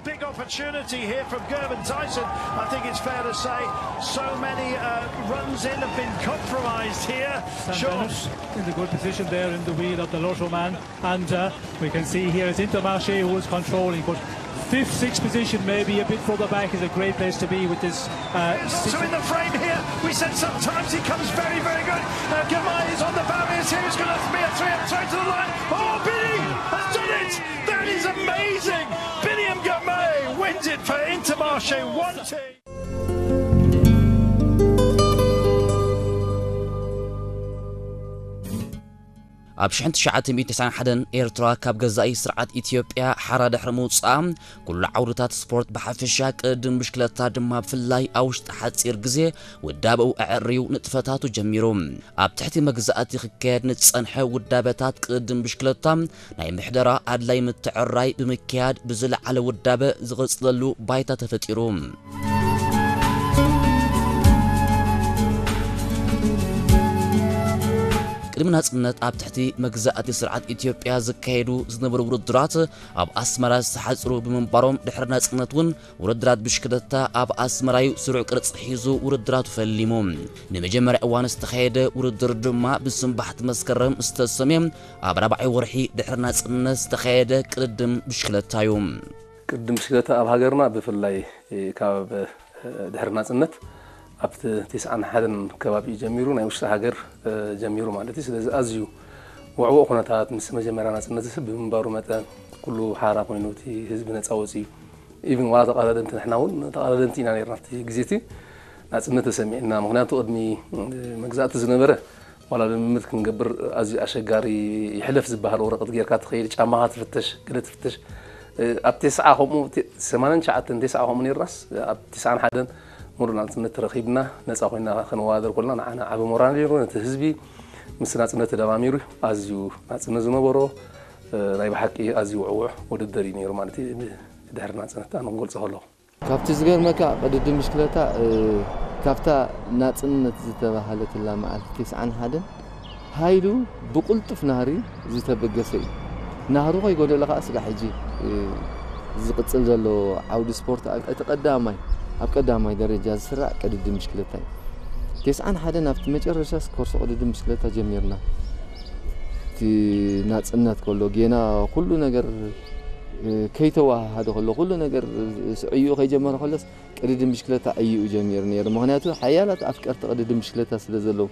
Big opportunity here from Gervin Tyson. I think it's fair to say so many uh, runs in have been compromised here. Sam Sure. Bennett in the good position there in the wheel of the Lotto man. And uh, we can see here it's Intermarché who is controlling, but fifth, sixth position, maybe a bit further back, is a great place to be with this. Uh, He's also in the frame here. We said sometimes he comes very, very good. Uh, Girmay is on the barriers here. It's going to be a three-up throw to the line. Oh, Biniam has done it! That is amazing! Biniam Girmay wins it for Intermarché one two. ኣብ ሽሕን ትሽዓተ ሚእትን ተስዓን ሓደን ኤርትራ ካብ ገዛኢ ስርዓት ኢትዮጵያ ሓራ ድሕሪ ምውጻኣ፣ ኩሉ ዓውድታት ስፖርት ብሓፈሻ ቅድድም ብሽክለታ ድማ ብፍላይ ኣብ ውሽጢ ሓጺር ግዜ ውዳበኡ ኣዐርዩ ንጥፈታቱ ጀሚሩ። ኣብ ትሕቲ መግዛእቲ ክካየድ ንዝጸንሐ ውዳበታት ቅድድም ብሽክለታ ናይ ምሕደራ ኣድላይ ምትዕርራይ ብምክያድ ብዝለዓለ ውዳበ ዝቕጽለሉ ባይታ ተፈጢሩ። ቅድሚ ናጽነት ኣብ ትሕቲ መግዛእቲ ስርዓት ኢትዮጵያ ዝካየዱ ዝነበሩ ውድድራት ኣብ ኣስመራ ዝተሓጽሩ ብምንባሮም፣ ድሕሪ ናጽነት እውን ውድድራት ብሽክለታ ኣብ ኣስመራ እዩ ስሩዕ ቅርጺ ሒዙ ውድድራቱ ፈሊሙ። ንመጀመርያ እዋን ዝተኻየደ ውድድር ድማ ብስንባሕቲ መስከረም ዝተሰምየ ኣብ ራብዓይ ወርሒ ድሕሪ ናጽነት ዝተኻየደ ቅድድም ብሽክለታ እዩ። ቅድድም ብሽክለታ ኣብ ሃገርና ብፍላይ ካብ ድሕሪ ናጽነት ኣብቲ ተስዓን ሓደን ከባቢ እዩ ጀሚሩ፣ ናይ ውሽጢ ሃገር ጀሚሩ ማለት እዩ። ስለዚ ኣዝዩ ውዕዉዕ ኩነታት ምስ መጀመርያ ናጽነት ብምንባሩ መጠን ኩሉ ሓራ ኮይኑ እቲ ህዝቢ ነጻ ወጺኡ ኢቭን ዋላ ተቐዳደምቲ ንሕና እውን ተቐዳደምቲ ኢና ነርና ኣብቲ ግዜ እቲ ናጽነት ተሰሚዕና። ምኽንያቱ ቅድሚ መግዛእቲ ዝነበረ ዋላ ልምምድ ክንገብር ኣዝዩ ኣሸጋሪ፣ ይሕለፍ ዝበሃል ወረቐት ጌርካ ትኸይድ፣ ጫማኻ ትፍተሽ፣ ገለ ትፍተሽ። ኣብ ተስዓ ከምኡ፣ ሰማንያን ትሽዓተን ተስዓ ከምኡ ነርናስ ኣብ ተስዓን ሓደን ሙሉእ ናጽነት ተረኺብና ነጻ ኮይና ክንወዳደር ኮልና ንዓና ዓቢ ሞራል ነይሩ። ነቲ ህዝቢ ምስ ናጽነት ተደማሚሩ ኣዝዩ ናጽነት ዝነበሮ ናይ ብሓቂ ኣዝዩ ውዕውዕ ውድድር እዩ ነይሩ ማለት እዩ። ድሕሪ ናጽነት ኣነ ክገልጾ ከለኹ ካብቲ ዝገርመካ ቅድድም ብሽክለታ ካብታ ናጽነት ዝተባህለትላ መዓልቲ ተስዓን ሓደን ሃይሉ ብቕልጡፍ ናህሪ ዝተበገሰ እዩ። ናህሩ ከይጎደለ ከዓ ስጋዕ ሕጂ ዝቕጽል ዘሎ ዓውዲ ስፖርት እቲ ቀዳማይ ኣብ ቀዳማይ ደረጃ ዝስራዕ ቅድድም ብሽክለታ እዩ። ተስዓን ሓደን ኣብቲ መጨረሻ ኮርሶ ቅድድም ብሽክለታ ጀሚርና። እቲ ናጽነት ከሎ ጌና ኩሉ ነገር ከይተወሃሃደ ከሎ ኩሉ ነገር ስዕዩ ከይጀመረ ከሎስ ቅድድም ብሽክለታ ዕይኡ ጀሚሩ ነይሩ። ምኽንያቱ ሓያላት ኣፍቀርቲ ቅድድም ብሽክለታ ስለ ዘለዉ፣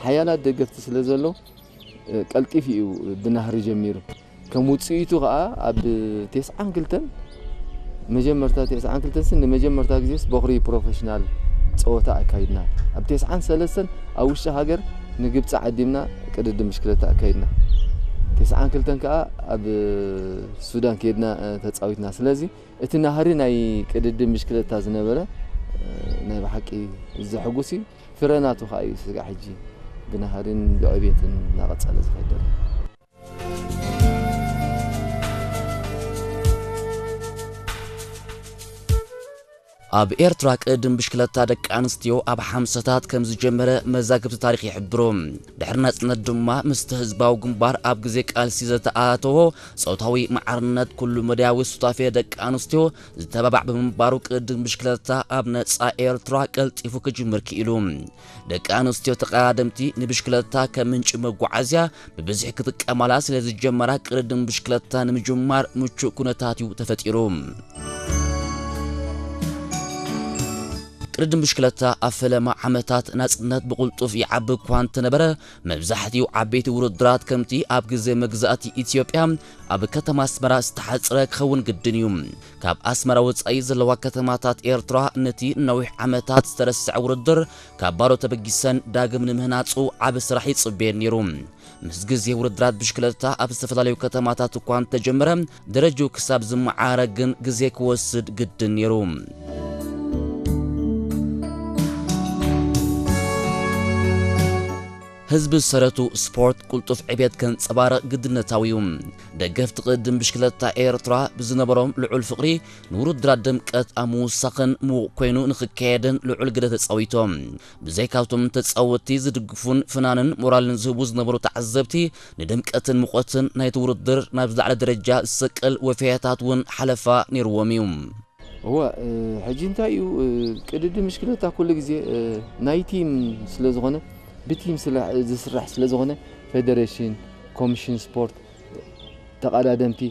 ሓያላት ደገፍቲ ስለ ዘለዉ ቀልጢፉ እዩ ብናህሪ ጀሚሩ። ከም ውጽኢቱ ከኣ ኣብ ተስዓን ክልተን መጀመርታ ተስዓን ክልተን ንመጀመርታ ግዜስ በኹሪ ፕሮፌሽናል ጸወታ ኣካይድና። ኣብ ተስዓን ሰለስተን ኣብ ውሽጢ ሃገር ንግብጺ ዓዲምና ቅድድም ብሽክለታ ኣካይድና። ተስዓን ክልተን ከኣ ኣብ ሱዳን ከይድና ተጻዊትና። ስለዚ እቲ ናህሪ ናይ ቅድድም ብሽክለታ ዝነበረ ናይ ብሓቂ ዘሐጉስ እዩ። ፍረ ናቱ ከኣ እዩ ስጋዕ ሕጂ ብናህርን ብዕብየትን እናቐጸለ ዝኸይድ ዘሎ። ኣብ ኤርትራ ቅድድም ብሽክለታ ደቂ ኣንስትዮ ኣብ ሓምሳታት ከም ዝጀመረ መዛግብቲ ታሪኽ ይሕብሩ። ድሕሪ ናጽነት ድማ ምስቲ ህዝባዊ ግንባር ኣብ ግዜ ቃልሲ ዘተኣተዎ ጾታዊ ማዕርነት ኩሉ መዳያዊ ሱታፌ ደቂ ኣንስትዮ ዝተባባዕ ብምንባሩ ቅድድም ብሽክለታ ኣብ ነጻ ኤርትራ ቀልጢፉ ክጅምር ክኢሉ። ደቂ ኣንስትዮ ተቐዳደምቲ ንብሽክለታ ከም ምንጪ መጓዓዝያ ብብዝሒ ክጥቀማላ ስለ ዝጀመራ ቅድድም ብሽክለታ ንምጅማር ምቹእ ኩነታት እዩ ተፈጢሩ። ቅድድም ብሽክለታ ኣብ ፈለማ ዓመታት ናጽነት ብቕልጡፍ ይዓቢ እኳ እንተነበረ፣ መብዛሕትኡ ዓበይቲ ውድድራት ከምቲ ኣብ ግዜ መግዛእቲ ኢትዮጵያ ኣብ ከተማ ኣስመራ ዝተሓጽረ ክኸውን ግድን እዩ። ካብ ኣስመራ ወጻኢ ዘለዋ ከተማታት ኤርትራ ነቲ ነዊሕ ዓመታት ዝተረስዐ ውድድር ካብ ባዶ ተበጊሰን ዳግም ንምህናጹ ዓቢ ስራሕ ይጽበየን ነይሩ። ምስ ግዜ ውድድራት ብሽክለታ ኣብ ዝተፈላለዩ ከተማታት እኳ እንተጀመረ፣ ደረጃኡ ክሳብ ዝመዓረ ግን ግዜ ክወስድ ግድን ነይሩ። ህዝቢ ዝሰረቱ ስፖርት ቅልጡፍ ዕቤት ከንጸባርቕ ግድነታዊ እዩ። ደገፍቲ ቅድድም ብሽክለታ ኤርትራ ብዝነበሮም ልዑል ፍቕሪ ንውድድራት ድምቀት ኣብ ምውሳኽን ምዉቕ ኮይኑ ንኽካየድን ልዑል ግደ ተጻዊቶም። ብዘይካብቶም ተጻወትቲ ዝድግፉን ፍናንን ሞራልን ዝህቡ ዝነበሩ ተዓዘብቲ ንድምቀትን ሙቐትን ናይቲ ውድድር ናብ ዝለዓለ ደረጃ ዝሰቅል ወፈያታት እውን ሓለፋ ነይርዎም እዩ። እወ ሕጂ እንታይ እዩ ቅድድም ብሽክለታ ኩሉ ግዜ ናይ ቲም ስለ ዝኾነ ብቲም ዝስራሕ ስለ ዝኾነ ፌደሬሽን፣ ኮሚሽን ስፖርት፣ ተቐዳደምቲ፣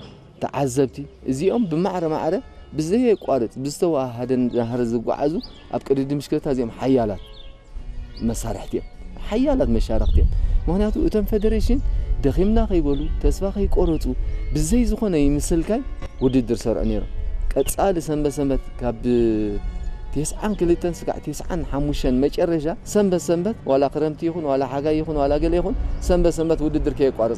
ተዓዘብቲ እዚኦም ብማዕረ ማዕረ ብዘየቋርፅ ብዝተወሃሃደ ናህሪ ዝጓዓዙ ኣብ ቅድድም ብሽክለታ እዚኦም ሓያላት መሳርሕቲ እዮም፣ ሓያላት መሻርክቲ እዮም። ምክንያቱ እቶም ፌደሬሽን ደኺምና ከይበሉ ተስፋ ከይቆረፁ ብዘይ ዝኾነ ይምስልካይ ውድድር ሰርዑ ነይሮም። ቀፃሊ ሰንበት ሰንበት ካብ ተስዓን ክልተን ስጋዕ ተስዓን ሓሙሽተን መጨረሻ ሰንበት ሰንበት ዋላ ክረምቲ ይኹን ዋላ ሓጋይ ይኹን ዋላ ገለ ይኹን ሰንበት ሰንበት ውድድር ከየቋረፁ